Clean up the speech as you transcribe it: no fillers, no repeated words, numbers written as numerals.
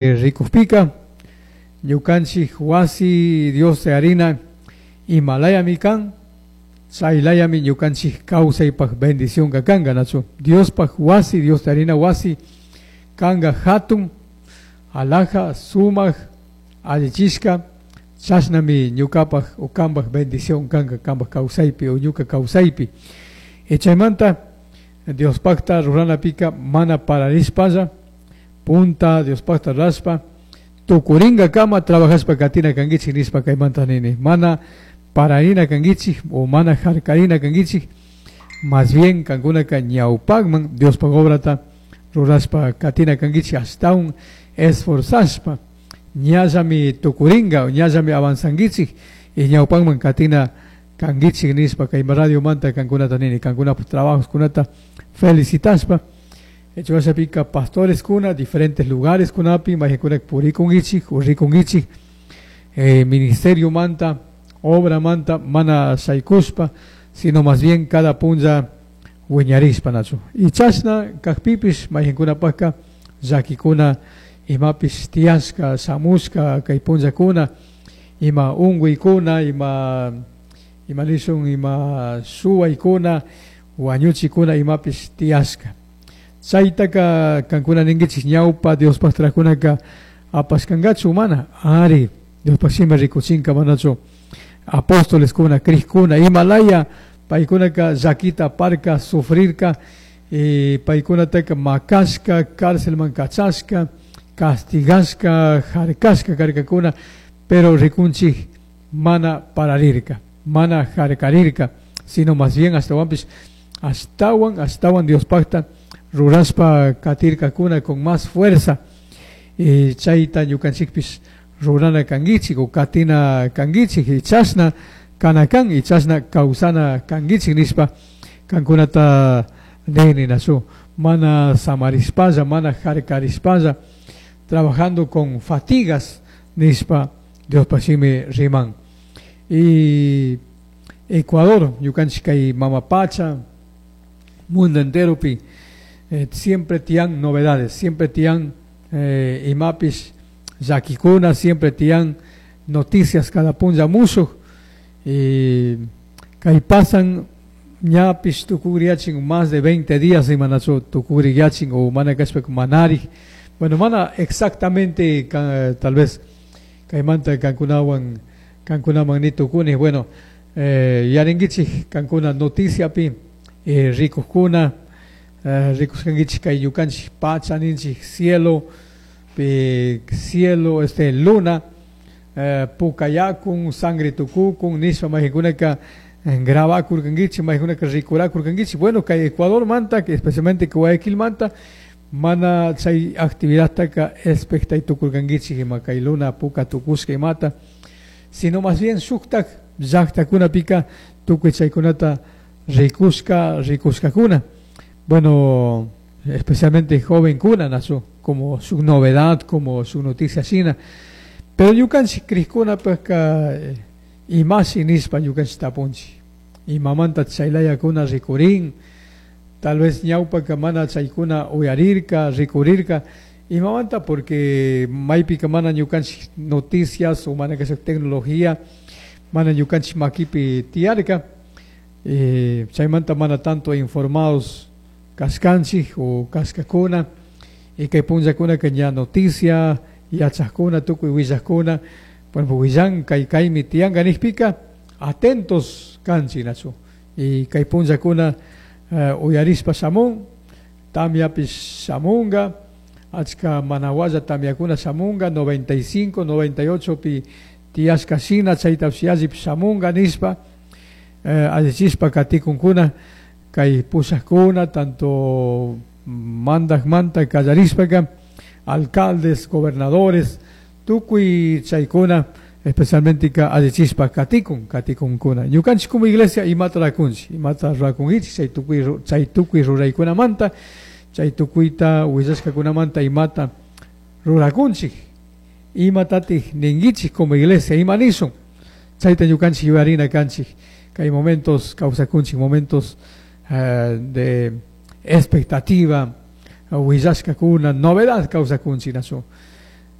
Rikukpika ñukanchik wasi Dios harina imalayami kan, chaylayami ñukanchik kawsaypaq bendicionka kanka, nachu? Diospaq wasi, Dios harina wasi kanka hatun, alhaja, sumak, allichishka, chashnami ñukapaq o kanpak bendición kanka kanpak kawsaypi o ñuka kawsaypi. Y chaymanta Diospaqta ruranapika mana pararishpalla, punta Diospaqta rurashpa tukuringakama trabajashpa katina kankichik nishpa kaymanta nini. Mana pararina kankichik o mana harkarina kankichik, más bien kankunaka ñawpakman Diospaq obrata rurashpa katina kankichik, ashtawan esforzashpa ñallami tukuringa, ñallami avanzankichik y ñawpakman katina kankichik nishpa kay radiomanta kankunata nini, kankunapaq trabajoskunata felicitashpa. Hecho pastores kuna diferentes lugares kunapi mayqinkunak purikunkichik o rikunkichik, ministerio manta, obra manta, mana shaykushpa, sino más bien cada punlla wiñarishpa, nachu? Y chashna kakpipish mayqinkunapaqka llakikuna imapish tiyashka shamushka kay punllakuna, ima unkuykuna, ima nishun, ima shuwaykuna, wañuchikuna imapish tiyashka. Chaytaka kankuna ninkichik, ñawpa Diospaq trajkunaka apashkankachu mana? Ari, Diospaq shimi rikuchinka, manachu? Apóstoles kuna, crijkuna imalaya paykunaka llakita aparka, sufrirka, y paykunataka makashka, cárcelman kachashka, castigashka, harkashka karkakuna, pero rikunchik mana pararirka, mana harkarirka, sino más bien ashtawanpish ashtawan ashtawan Diospaqta rurashpa katirkakuna con más fuerza. Y chayta ñukanchikpish rurana kankichik o katina kankichik, y chashna kana kan y chashna kawsana kankichik nishpa kankunata nini, nachu? Mana samarishpalla, mana harkarishpalla, trabajando con fatigas nishpa Diospaq shimi riman. Y Ecuador, ñukanchik kay mama pacha, mundo enteropi, siempre tiyan novedades, siempre tiyan imapish llakikuna, siempre tiyan noticias cada punlla mushuk. Y kay pasan ñapish tukugriyachin más de 20 días imanachu tukugriyachin o mana kashpa manari. Bueno, mana exactamente tal vez kaymanta kankunawan kankunaman ni tukuni. Bueno, yarinkichik kankuna noticiapi, rikukkuna, rikushkankichik kay ñukanchik pacha ninchik cielo pi, cielo, luna, pukayakun, sangre tukukun nishpa mayqinkunaka grabakurkankichik, mayqinkunaka rikurakurkankichik. Bueno, kay Ecuador manta, que especialmente Guayaquil manta, mana chay actividadtaka expectay tukurkankichik ima kay luna puka tukushka imata, sino más bien shuktak llaktakunapika tukuy chaykunata rikushka, rikushkakuna. Bueno, especialmente jovenkuna, nachu? Como su novedad, como su noticia shina. Pero ñukanchik krikkunapaka imashi nishpa ñukanchik tapunchik, imamanta chaylayakuna rikurin? Tal vez ñawpaka mana chaykuna uyarirka, rikurirka. Imamanta? Porque maypika mana ñukanchik noticias o mana kasha tecnología mana ñukanchik makipi tiyarka, chaymanta mana tanto informados kashkanchik o kashkakuna. Y kay punllakunaka ña noticia yachajkuna, tukuy willajkuna, bueno, willan kay kaymi tiyanka nishpika atentos kanchik, nachu? Y kay punllakuna uyarishpa shamun, tamyapish shamunga, achka manawalla tamyakuna shamunga, 95, 98 pi tiyashka shina chaytapish yallipish shamunga nishpa, allichishpa katikunkuna kay pushakuna, tanto mandakmanta kallarishpaka, alcaldes, gobernadores, tukuy chaykuna, especialmente ka allichishpa katikun, katikunkuna. Ñukanchik como iglesia imata rakunchik, imata rakunkichik chay tukuy ruraykunamanta, chay tukuyta willashkakunamanta? Imata rurakunchik, imatatik ninkichik como iglesia, ima nishun? Chayta ñukanchik yuyarina kanchik. Kay momentos kawsakunchik, momentos de expectativa, willashkakuna, novedad kawsakunchik, nachu?